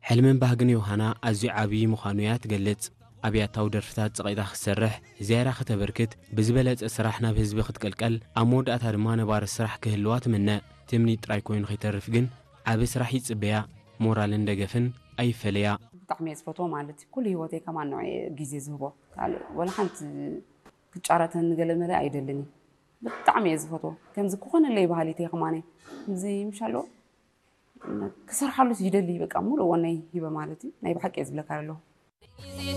ሕልምን ባህግን ዮሃና ኣዝዩ ዓብዪ ምዃኑ እያ ትገልጽ። ኣብ ያታዊ ደርፍታት ጸቒጣ ክትሰርሕ፣ ዝያዳ ከተበርክት፣ ብዝበለጸ ስራሕ ናብ ህዝቢ ክትቅልቀል፣ ኣብ መወዳእታ ድማ ነባሪ ስራሕ ክህልዋ ትምነ። ትምኒት ጥራይ ኮይኑ ከይተርፍ ግን ዓቢ ስራሕ ይጽበያ። ሞራልን ደገፍን ኣይፈለያ። ብጣዕሚ እየ ዝፈትዎ ማለት እዩ። ኩሉ ህይወተይ ከማን ንዕኡ እየ ግዜ ዝህቦ። ካልእ ወላ ሓንቲ ክጫረተኒ ገለ መለ ኣይደልን እዩ። ብጣዕሚ እየ ዝፈትዎ። ከምዚ ክኾነለይ ባህሊት እየ ከማነይ። ከምዚ ምሽ ኣለዎ ክሰርሓሉ ይደሊ። በቃ ሙሉእ ወነይ ሂበ ማለት እዩ። ናይ ብሓቂ እየ ዝብለካ ኣለኹ።